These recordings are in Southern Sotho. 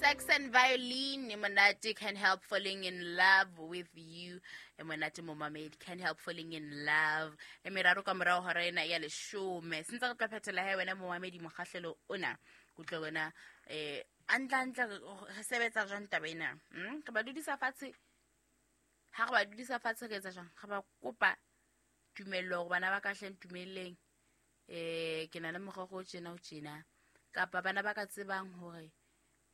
Sex and violin e monate, can help falling in love with you. E monate momamedi, can help falling in love. E meraro ka morao hora ena ya leshome. Sentse re tla phethela he wena momamedi mokgahlelo ona. Kutlwe wena antla re sebetsa jwang taba ena? Re ba dudisa fatshe. Ha re ba dudisa fatshe re etsa jwang? Re ba kopa tumello hore bana ba ka hle ntumelleng. Ke na le morero o tjena o tjena. Kapa bana ba ka tsebang hore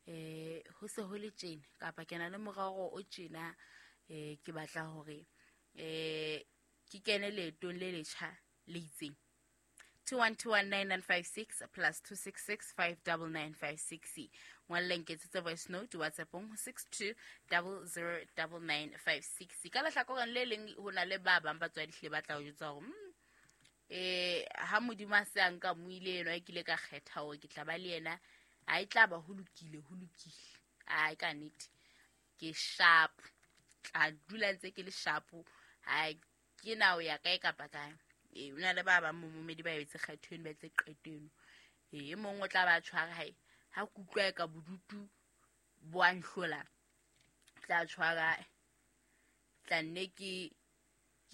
ho se ho le tjena, kapa ke na le morero o tjena, ke batla hore ke kene leetong le letjha le itseng. 21219956 plus 266 59956. Ngwalle, nketsetse voice note WhatsAppong 62009956. Ka lehlakoreng le leng ho na le ba bang batswadi hlile ba tla o jwetsa hore ha Modimo a se a nka moile enwa e kile ka kgetha hore ke tla ba le yena, ha e tla ba ho lokile, ho lokile. Ai, ka nnete ke sharp, tla dula ntse ke le sharp, ha ke na o ya kae kapa kae. Ee, o na le ba bang momomedi ba etse kgetho eno, ba etse qeto eno. Ee, e mong o tla ba tshwara hae ha ke utlwa e ka bodutu bo a nhlola, tla tshwara, tla nne ke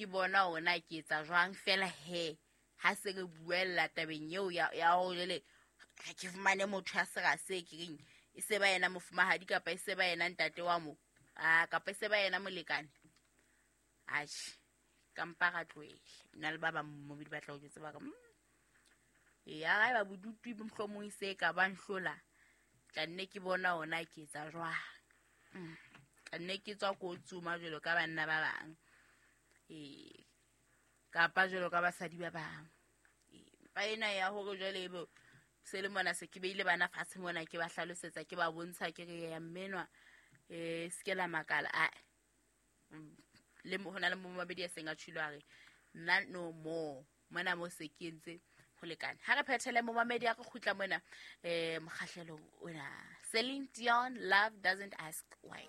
bona hore na ke etsa jwang fela. He ha se re buella tabeng eo ya hore jwale ha ke fumane motho ya sera se ke reng e se ba yena mofumahadi, kapa e se ba yena ntate wa mo, a kapa e se ba yena molekane, atjhe, ka mpa ra tlohele. Nna le ba bang momedi ba tla o jwetsa ba re ya ha eba bodutu mohlomong e se ka ba nhlola, tla nne ke bona hore na ke etsa jwang. Tla nne ke tswa ko tsoma jwalo ka banna ba bang, ee, kapa jwalo ka basadi ba bang. Mpa ena ya hore jwale ebe se le mona, se ke beile bana fatshe mona, ke ba hlalosetsa, ke ba bontsha, ke re ya mmenwa, se ke la makala a le ho na le momamedi a seng a tjhilo a re nna no more mona mo se ke entse ho lekane. Ha re phethele momamedi, a re kgutla mona mokgahlelong ona. Celine Dion, Love Doesn't Ask Why.